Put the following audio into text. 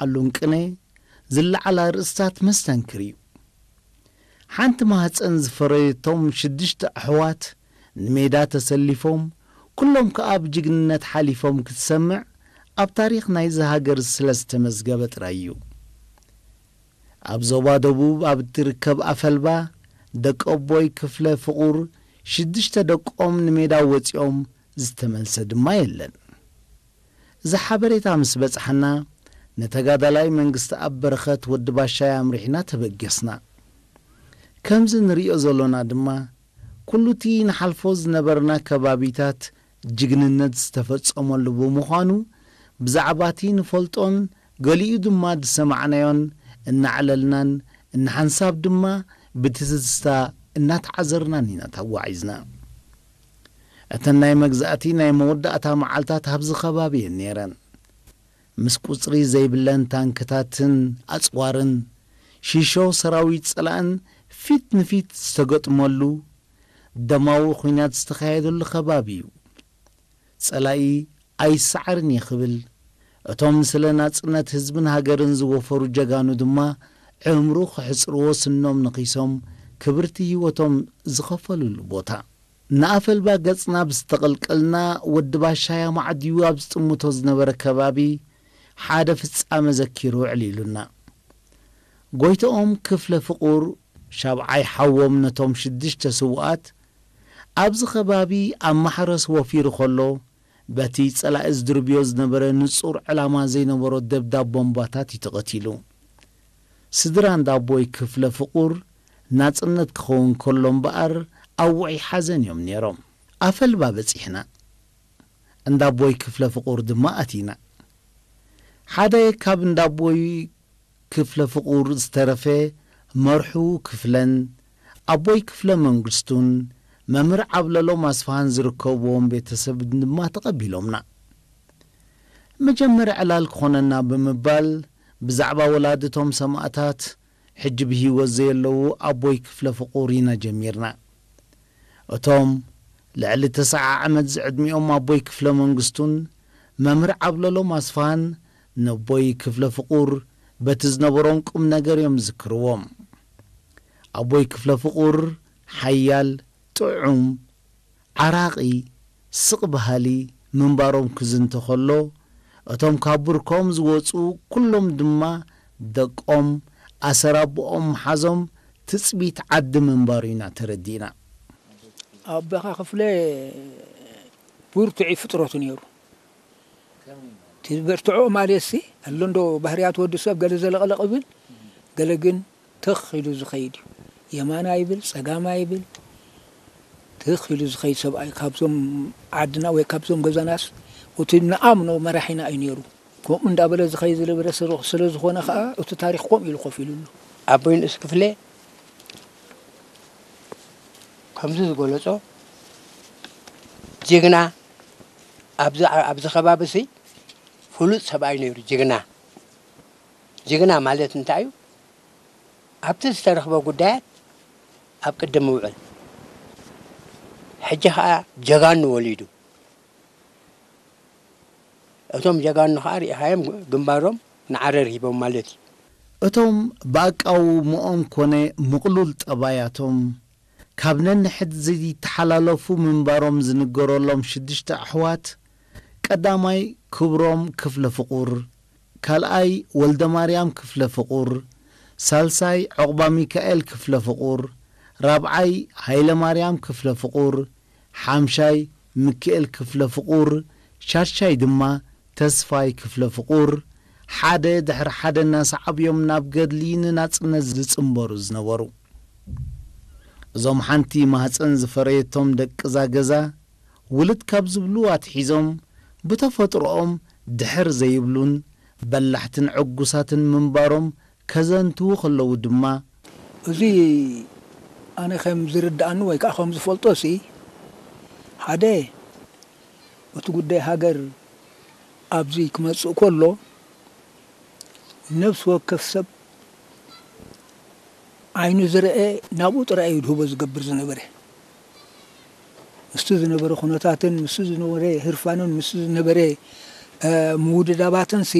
ዓሉን ቅነ ዝለዓል ኣርእስታት መስተንክር እዩ። ሓንቲ ማህፀን ዝፈረየቶም ሽዱሽተ ኣሕዋት ንሜዳ ተሰሊፎም ኩሎም ከኣ ብጅግንነት ሓሊፎም ክትሰምዕ ኣብ ታሪኽ ናይዚ ሃገር ስለ ዝተመዝገበ ጥራይ እዩ። ኣብ ዞባ ደቡብ ኣብ እትርከብ ኣፈልባ ደቂ ኣቦይ ክፍለ ፍቑር ሽዱሽተ ደቆም ንሜዳ ወጺኦም ዝተመልሰ ድማ የለን። እዚ ሓበሬታ ምስ በጽሓና ንተጋዳላይ መንግስቲ ኣብ በረኸት ወዲ ባሻይ ኣምሪሕና ተበገስና። ከምዚ ንርእዮ ዘሎና ድማ ኩሉቲ ንሓልፎ ዝነበርና ከባቢታት ጅግንነት ዝተፈጸመሉ ብምዃኑ ብዛዕባቲ ንፈልጦን ገሊኡ ድማ ዝሰማዕናዮን እናዕለልናን እናሓንሳብ ድማ ብትዝዝታ እናተዓዘርናን ኢና ተጓዒዝና። እተን ናይ መግዛእቲ ናይ መወዳእታ መዓልታት ኣብዚ ከባቢ እየን ነይረን። ምስ ቁጽሪ ዘይብለን ታንክታትን ኣጽዋርን ሺሾ ሰራዊት ጸላእን ፊት ንፊት ዝተገጥመሉ ደማዊ ኲናት ዝተኻየደሉ ከባቢ እዩ። ጸላኢ ኣይሰዓርን እየ ክብል፣ እቶም ስለ ናጽነት ህዝብን ሃገርን ዝወፈሩ ጀጋኑ ድማ ዕምሩ ክሕጽርዎ ስኖም ነኺሶም ክብርቲ ህይወቶም ዝኸፈሉሉ ቦታ። ንኣፈልባ ገጽና ብዝተቐልቀልና ወዲ ባሻያ ማዕድዩ ኣብ ዝጥምቶ ዝነበረ ከባቢ ሓደ ፍጻመ ዘኪሩ ውዕል ኢሉና። ጎይትኦም ክፍለ ፍቑር ሻብዓይ ሓዎም ነቶም ሽዱሽተ ስውኣት ኣብዚ ከባቢ ኣብ ማሕረስ ወፊሩ ከሎ በቲ ጸላኢ ዝድርብዮ ዝነበረ ንጹር ዕላማ ዘይነበሮ ደብዳብ ቦምባታት እዩ ተቐቲሉ። ስድራ እንዳቦይ ክፍለ ፍቑር ናጽነት ክኸውን ከሎ እምበኣር ኣብ ውዑይ ሓዘን እዮም ነይሮም። ኣፈልባ በጺሕና። እንዳቦይ ክፍለ ፍቑር ድማ ኣቲና። ሓደ ካብ እንዳቦይ ክፍለ ፍቑር ዝተረፈ መርሑ ክፍለን ኣቦይ ክፍለ መንግስቱን መምህር ዓብለሎም ኣስፍሃን ዝርከብዎም ቤተሰብ ድማ ተቐቢሎምና። መጀመርያ ዕላል ክኾነና ብምባል ብዛዕባ ወላድቶም ሰማእታት ሕጂ ብህይወት ዘየለዉ ኣቦይ ክፍለ ፍቑር ኢና ጀሚርና። እቶም ልዕሊ ተስዓ ዓመት ዝዕድሚኦም ኣቦይ ክፍለ መንግስቱን መምህር ዓብለሎም ኣስፍሃን ነቦይ ክፍለ ፍቑር በቲ ዝነበሮም ቁም ነገር እዮም ዝዝክርዎም። ኣቦይ ክፍለ ፍቑር ሓያል፣ ጥዑም፣ ዓራቒ፣ ስቕ በሃሊ ምንባሮም ክዝንቶ ከሎ፣ እቶም ካብ ብርኮም ዝወጹ ኩሎም ድማ ደቆም ኣሰር ኣቦኦም ምሓዞም ትጽቢት ዓዲ ምንባሩ ኢና ተረዲእና። ኣቦኻ ክፍለ ብርቱዕ ፍጥረቱ ነይሩ። እቲ ዝበርትዖ ማለትሲ፣ ኣሎ እንዶ ባህርያት ወዲ ሰብ ገለ ዘለቕለቕ ይብል፣ ገለ ግን ትኽ ኢሉ ዝኸይድ እዩ። የማና ይብል፣ ጸጋማ ይብል፣ ትኽ ኢሉ ዝኸይድ ሰብኣይ ካብዞም ዓድና ወይ ካብዞም ገዛናስ እቲ ንኣምኖ መራሒና እዩ ነይሩ። ከምኡ እንዳበለ ዝኸይድ ዝነበረ ስለ፣ ስለ ዝኾነ ኸኣ እቲ ታሪኽ ከምኡ ኢሉ ኮፍ ኢሉ ኣሎ። ኣቦይ ንእስ ክፍለ ከምዚ ዝገለጾ ጅግና ኣብዚ፣ ኣብዚ ከባቢ ሲ ፍሉጥ ሰብኣይ ነይሩ። ጅግና፣ ጅግና ማለት እንታይ እዩ? ኣብቲ ዝተረኽበ ጉዳያት ኣብ ቅድም ምውዕል። ሕጂ ኸኣ ጀጋኑ ወሊዱ። እቶም ጀጋኑ ኸኣ ርኢኻዮም ግንባሮም ንዓረር ሂቦም ማለት እዩ። እቶም ብኣቃውምኦም ኮነ ምቕሉል ጠባያቶም ካብ ነንሕድ ዘይተሓላለፉ ምንባሮም ዝንገረሎም ሽዱሽተ ኣሕዋት፣ ቀዳማይ ክብሮም ክፍለ ፍቑር፣ ካልኣይ ወልደማርያም ክፍለ ፍቑር፣ ሳልሳይ ዑቕባሚካኤል ክፍለ ፍቑር፣ ራብዓይ ሃይለማርያም ክፍለ ፍቑር፣ ሓምሻይ ሚኪኤል ክፍለ ፍቑር፣ ሻድሻይ ድማ ተስፋይ ክፍለ ፍቑር፣ ሓደ ድሕሪ ሓደ እናሰዓቡ እዮም ናብ ገድሊ ንናጽነት ዝጽንበሩ ዝነበሩ። እዞም ሓንቲ ማህጸን ዝፈረየቶም ደቂ እዛ ገዛ፣ ውልድ ካብ ዝብሉ ኣትሒዞም ብተፈጥሮኦም ድሕር ዘይብሉን በላሕትን ዕጉሳትን ምንባሮም ከዘንትዉ ከለዉ ድማ፣ እዚ ኣነ ከም ዝርድኣኒ ወይ ከዓ ከም ዝፈልጦ ሲ፣ ሓደ እቲ ጉዳይ ሃገር ኣብዚ ክመጽእ ከሎ፣ ነፍሲ ወከፍ ሰብ ዓይኑ ዝረአ ናብኡ ጥራይ እዩ ድህቦ ዝገብር ዝነበረ። ምስቲ ዝነበረ ኩነታትን ምስቲ ዝነበረ ህርፋንን ምስቲ ዝነበረ፣ እ፣ ምውድዳባትን ሲ፣